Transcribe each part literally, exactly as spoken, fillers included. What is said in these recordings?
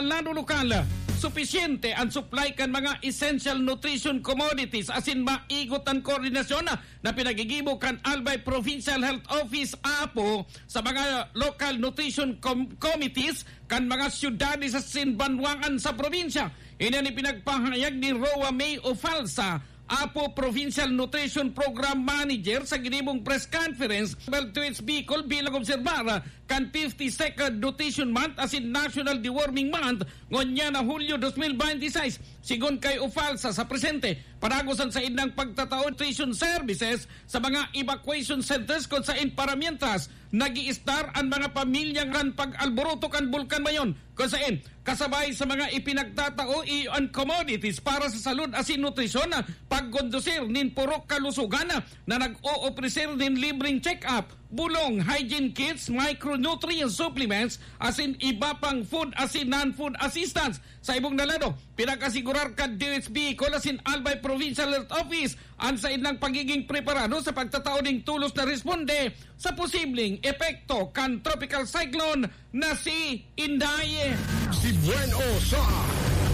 Lado lokal, supisyente an supply kan mga essential nutrition commodities asin maigot an koordinasyon na pinagigibo kan Albay Provincial Health Office, Apo, sa mga local nutrition com-, committees kan mga syudades asin banwaan sa probinsya. Ini an ipinagpahayag ni Roa May Ofalsa, Apo Provincial Nutrition Program Manager, sa ginibong press conference, Bell Tweets Bicol, bilang obserbar kan fifty-second Nutrition Month asin National Deworming Month ngunyan na Hulyo dos mil bente y seis. Sigon kay Ofalsa, sa presente, padagos an saindang pagtatao nutrition services sa mga evacuation centers kun sain paramientras nag-iistar an mga pamilya kan pag-alboroto kan Bulkan Mayon, kun sain kasabay sa mga ipinagtatao iyo an commodities para sa salud asin nutrisyon, pagkondusir nin purok kalusugan na nag-oofreser nin libreng check-up, bulong, hygiene kits, micronutrient supplements, asin iba pang food asin non-food assistance. Sa ibong na lado, pinag-asigurar kan D O H Bicol asin Albay Provincial Health Office an saindang pagiging preparado sa pagtatao ning tulos na responde sa posibleng epekto kan Tropical Cyclone na si Inday. Si Buen O sa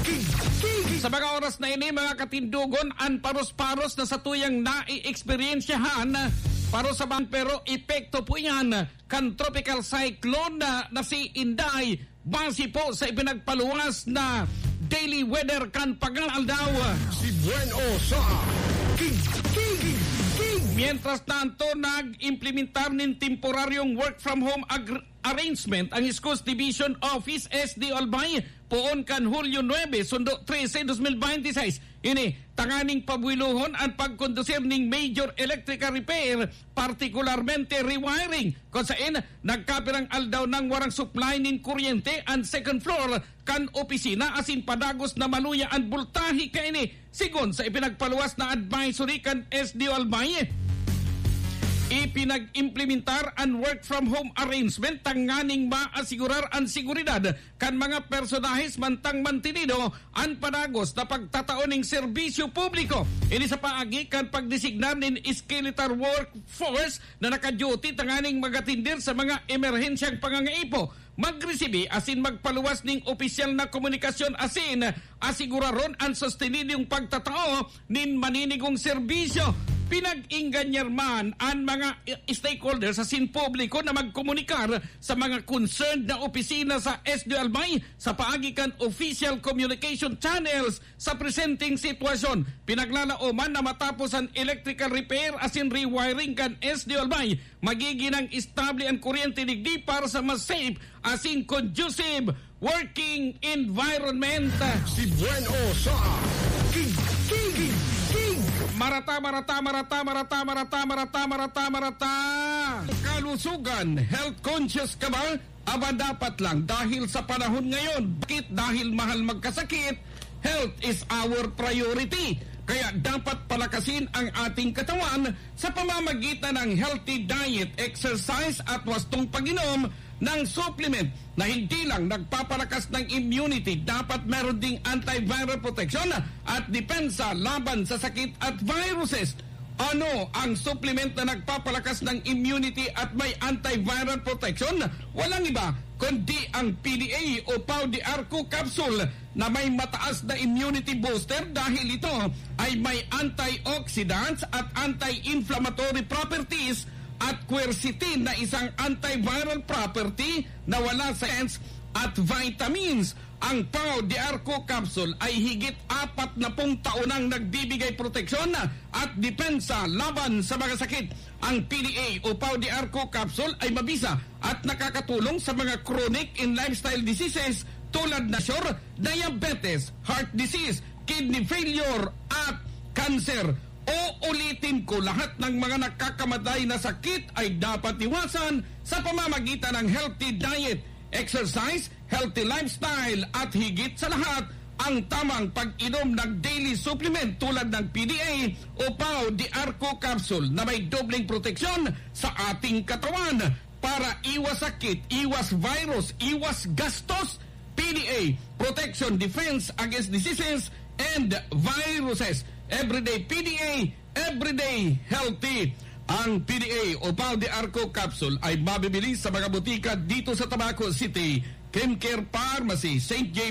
Kig-, Kig-, Sa mga oras na ini, mga katindogon, an paros-paros na satuyang nai-eksperyensyahan, paros sa ban-, pero epekto po iyan kan Tropical Cyclone na, na si Inday, base po sa ipinagpaluwas na daily weather kan Pag-aldaw. Si Buen O sa Kig-, Kig-, Kig-. Mientras tanto, nag-implementar nin temporaryong work from home agr-, arrangement ang Schools Division Office, S D O Albay, poon kan Hulyo nuebe, sundo trese, dos mil bente y seis. Ini, tanganing pabuwilohon an pagkondusir ning major electrical repair, partikularmente rewiring, kun sain nagkapirang aldaw nang warang supply nin kuryente an second floor kan opisina asin padagos na maluya an boltahe kaini. Sigon sa ipinagpaluwas na advisory kan S D O Albay, ipinag-implementar an work from home arrangement tanganing maasigurar an seguridad kan mga personahes mantang mantinido an padagos na pagtatao ning serbisyo publiko. Ini sa paagi kan pagdesignar nin skeletal workforce na nakaduty tanganing magatindir sa mga emerhensyang pangangaipo, magresibi asin magpaluwas ning opisyal na komunikasyon asin asiguraron an sustenidyong pagtatao nin maninigong serbisyo. Pinag-inganyan man an mga i-, stakeholders asin publiko na magkomunikar sa mga concerned na opisina sa S D O Albay sa paagi kan official communication channels sa presenteng sitwasyon. Pinaglalaoman na matapos an electrical repair asin rewiring kan S D O Albay, magigin nang estable an kuryente digdi para sa mas safe asin conducive working environment. Si Buen O sa Kig-, Kig-, Kig-. Marata, marata, marata, marata, marata, marata, marata, marata. Kalusugan, health conscious ka ba? Aba, dapat lang, dahil sa panahon ngayon, bakit? Dahil mahal magkasakit, health is our priority. Kaya dapat palakasin ang ating katawan sa pamamagitan ng healthy diet, exercise at wastong pag-inom ng supplement na hindi lang nagpapalakas ng immunity, dapat meron ding antiviral protection at depensa laban sa sakit at viruses. Ano ang supplement na nagpapalakas ng immunity at may antiviral protection? Walang iba kundi ang P D A o Pau de Arco capsule na may mataas na immunity booster dahil ito ay may antioxidants at anti-inflammatory properties at quercetin na isang antiviral property na wala sa ants at vitamins. Ang Pau de Arco capsule ay higit apat na pung taon nang nagbibigay proteksyon at depensa laban sa mga sakit. Ang P D A o Pau de Arco capsule ay mabisa at nakakatulong sa mga chronic and lifestyle diseases tulad na sure, diabetes, heart disease, kidney failure, at cancer. Uulitin ko, lahat ng mga nakakamatay na sakit ay dapat iwasan sa pamamagitan ng healthy diet, exercise, healthy lifestyle, at higit sa lahat, ang tamang pag-inom ng daily supplement tulad ng P D A o Pau de Arco capsule na may dobleng proteksyon sa ating katawan para iwas sakit, iwas virus, iwas gastos. P D A, protection, defense against diseases and viruses. Everyday P D A, everyday healthy. Ang P D A o Pau de Arco capsule ay mabibili sa mga botika dito sa Tabaco City, Kimcare Pharmacy, Saint J.